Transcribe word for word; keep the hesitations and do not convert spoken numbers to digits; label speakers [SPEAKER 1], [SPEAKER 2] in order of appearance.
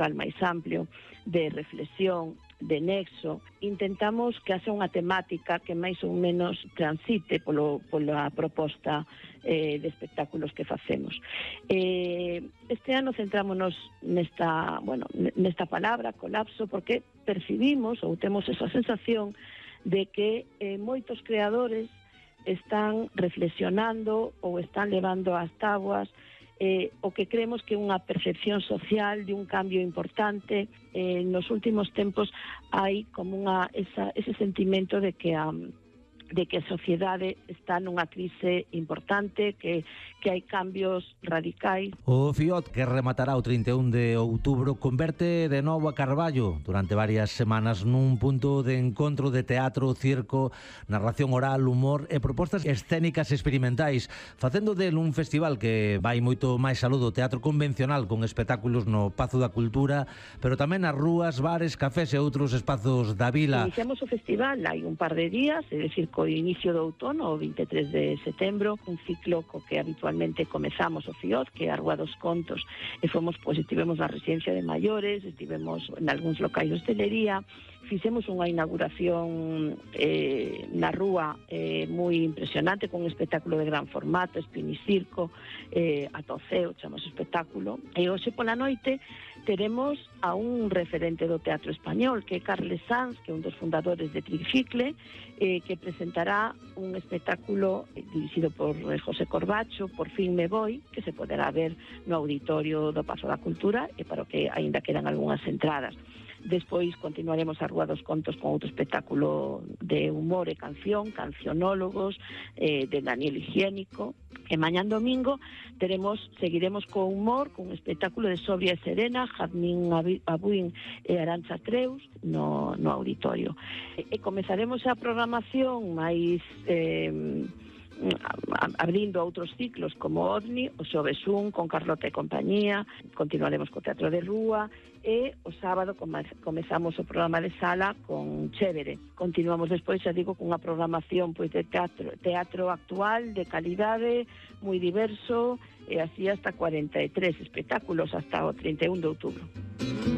[SPEAKER 1] cultural máis amplio, de reflexión, de nexo. Intentamos que haxa unha temática que máis ou menos transite polo, pola proposta eh, de espectáculos que facemos. Eh, este ano centrámonos nesta, bueno, nesta palabra, colapso, porque percibimos ou temos esa sensación de que eh, moitos creadores están reflexionando ou están levando ás táboas Eh, o que creemos que é unha percepción social de un cambio importante. Eh, nos últimos tempos hai como unha, esa, ese sentimento de que a, de que a sociedade está nunha crise importante, que, que hai cambios radicais.
[SPEAKER 2] O FIOT, que rematará o trinta e un de outubro, converte de novo a Carballo durante varias semanas nun punto de encontro de teatro, circo, narración oral, humor e propostas escénicas experimentais, facendo del un festival que vai moito máis aló do teatro convencional, con espectáculos no Pazo da Cultura, pero tamén nas rúas, bares, cafés e outros espazos da vila.
[SPEAKER 1] Iniciamos o festival hai un par de días, é dicir, co inicio do outono, o vinte e tres de setembro, un ciclo co que habitualmente comezamos o FIOT, que é a Rúa dos Contos, e fomos, pois, estivemos na residencia de maiores, estivemos en algúns locais de hostelería, fixemos unha inauguración eh, na rúa eh, moi impresionante, con un espectáculo de gran formato, Espinicirco, eh, ata o ceo, chamamos espectáculo, e hoxe pola noite teremos a un referente do teatro español, que é Carles Sanz, que é un dos fundadores de Tricicle, eh, que presentará un espectáculo eh, dirixido por eh, José Corbacho, Por fin me voy, que se poderá ver no auditorio do Pazo da Cultura, e para o que aínda quedan algunhas entradas. Despois continuaremos a Rúa dos Contos con outro espectáculo de humor e canción, Cancionólogos, eh, de Daniel Higiénico. E mañán domingo teremos, seguiremos co humor, con un espectáculo de Sobria e Serena, Jazmín Abuín e Arantxa Creus no, no auditorio. E, e comezaremos a programación máis... Eh, abrindo outros ciclos como OVNI, o xoves un con Carlota e compañía, continuaremos co Teatro de Rúa, e o sábado comezamos o programa de sala con Chévere. Continuamos despois, xa digo, con unha programación pois de teatro, teatro actual, de calidade, moi diverso, e así hasta cuarenta e tres espectáculos hasta o trinta e un de outubro.